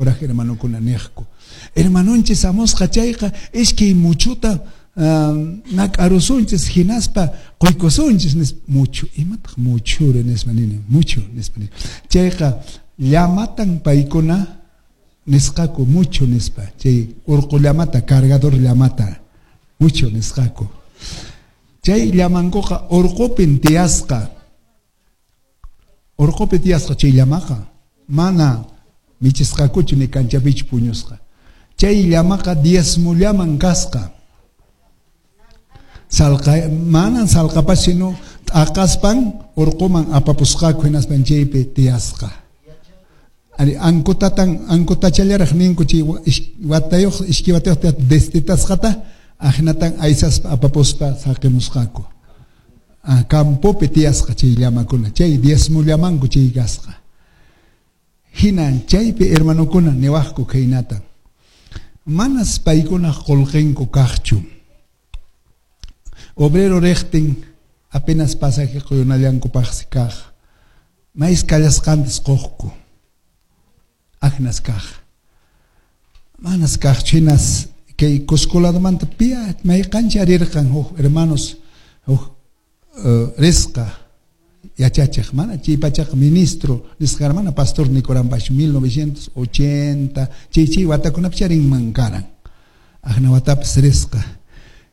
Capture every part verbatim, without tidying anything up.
Kuraq hermanokuna niqku. Hermanonchis hamusqa chayqa iskay muchuta nak'arusunchis hinaspa quykusunchis nispa. Muchu, imataq muchuri nispa nini, muchu nispa nini. Chayqa llamatan paykuna nisqaku muchu nispa. Chay urqu llamata, cargador llamata, muchu nisqaku. Chay llamankuqa urqupin tiyasqa. Urqupi tiyasqa chay llamaqa mana michisqakuchu ni kanchapichu puñusqa. Chay llamaqa diezmollaman kasqa. Salqa, manan salqapas sino t'aqaspan urquman apapusqaku hinaspan chaypi tiyasqa. Ari ankutatan ankutachallaraq ninku chay watayuq iskay watayuq destetasqata ahinatan aysaspa apapuspa saqimusqaku. Ah, campopi tiyasqa chay llamakuna, chay diezmollamanku chay kasqa. Hina chaypi hermanokuna niwaqku khaynata. Manas paykunaq qullqinku kaqchu. Obrero riqtin apenas pasaje quyunallankupaqsi kaq. Mais kallasqantas quqku. Aknas kaq. Manas kaqchu hinas kay Cusco ladomanta pia mayqancha rirqan huk hermanos huk uh, risqa yachachiq mana chay pachaqa ministro nisqa hermana pastor nikuranpash mil novecientos ochenta chay chay watakunapi charinman karan. Akna watapas risqa.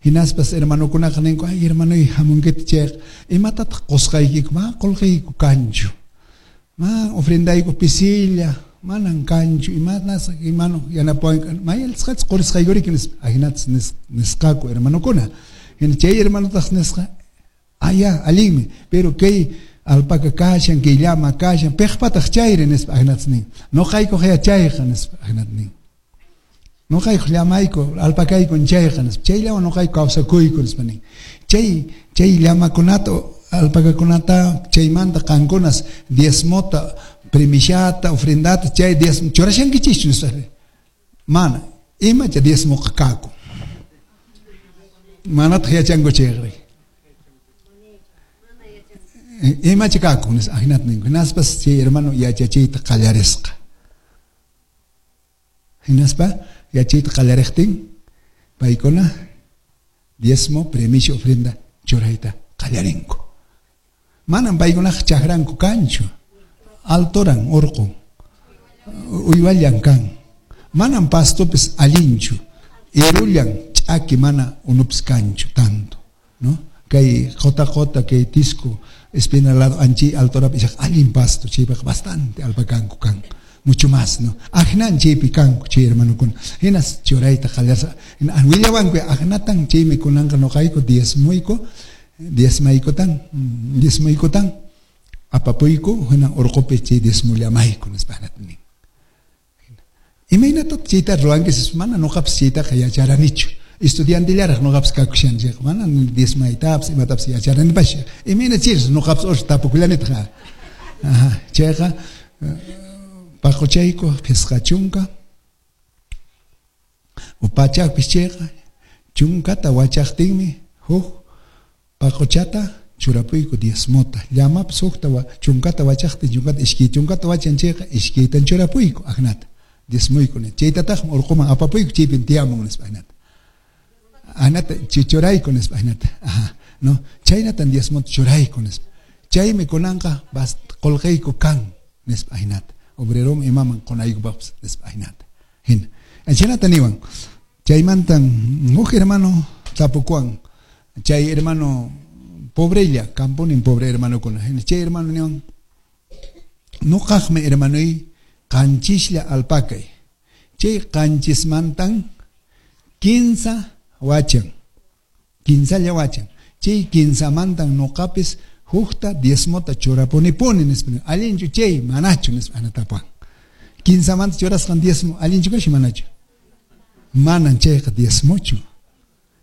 Hinaspas hermanokunaqa ninku ay hermanoy hamunkita chayqa imatataq qusqaykiku ma qullqiyku kanchu. Ma ofrendayku pisilla manan kanchu imanas imano yanapawanku mayalsqachis qurisqaykuriki nispa ahinatas nisqaku hermanokuna. Hina chay hermanotaq nisqa aya allinmi pero kay alpaca kashan kay llama kashan piqpataq chayri nispa ahinatas nin nuqaykuq yachayqa nispa ahinata nin. Nuqaykuq llamayku alpakayku chayqa nispa chayllawan nuqayku kawsakuyku nispa nin. Chay chay llamakunata alpacakunata chaymanta qankunas diezmota primishata ofrendata chay diezmo churashankichischu nispa mana imacha diezmoqa kaku manataq yachanku chayri imacha kaku nispa ahinata ninku. Hinaspas chay hermano yachachiyta qallarisqa. Hinaspa yachayta qallariqtin paykuna diezmo primicia ofrenda churayta qallarinku. Manan paykunaqa chakranku kanchu. Altoran urqu uywallan kan. Manan pastopis allinchu. Irullan ch'aki mana unupis kanchu tanto, ¿no? Kay qota qota kay tisco espina lado anchi altorapi ishaq allin pasto chaypiqa bastante alpakanku kan. Mucho más, ¿no? Ajnan chaypi kanku chay hermanokuna. Hinas churayta qallarsa. Willawanku ajnatan chaymi kunanqa nuqayku diezmuyku diezmaykutan diezmuykutan apapuyku hina urqupi chay diezmullamayku nispa nin. Imaynatataq chayta ruwanki mana nuqapas chaytaqa yacharanichu. Estudiantillaraq nuqapas kakushan chayqa mana diezmaytapas imatapas yacharanipash. Imayna chayras nuqapas urqa tapukullanitaq. Aha, chayqa paquchayku phisqa chunka upachaqpis chayqa chunkata wachaqtinmi huk paquchata churapuyku diezmota. Llamapas hukta chunkata wachaqtin chunkata iskay chunkata wachan chayqa iskaytan churapuyku aknata diezmuyku ni. Chaytataqmi urquman apapuyku chaypin tiyamun nispa ahinata. Ahinata churayku nispa ahinata. Aha, no, chaynatan diezmota churayku nispa. Chaymi kunanqa qullqiyku kan nispa ahinata. Obrerom imaman qunaykupaqpas nispa ahinata. Hina. Chaynata niwan. Chaymantan huk hermano tapukuwan. Chay hermano pobrella, camponin pobre hermanokuna. Chay hermano niwan nuqaqmi hermanoy qanchislla alpakay. Chay qanchismantan kinsa wachan. Kinsalla wachan. Chay kinsamantan nuqapis hukta diezmota churapunipuni nispa. Allinchu chay manachu nispa anatapuwan. Kinsamanta churasqan diezmo allinchu kashi manachu. Manan chayqa diezmochu.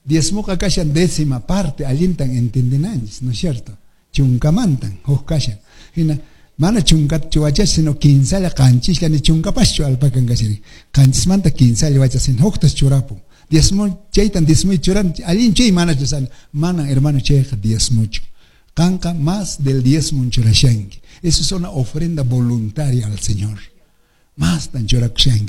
Diezmoqa kashan décima parte allintan entendinanchis, ¿no es cierto? Chunkamantan huk kashan. Hina mana chunkata wachas sino kinsalla qanchislla ni chunkapaschu alpakan kashan. Qanchismanta kinsalla wachas sino huktas churapun. Diezmo chaytan diezmo churan allin chay manachu san mana hermano chayqa diezmochu. Qanqa más del diezmo churashanki. Eso es una ofrenda voluntaria al Señor. Más tan churakushanki.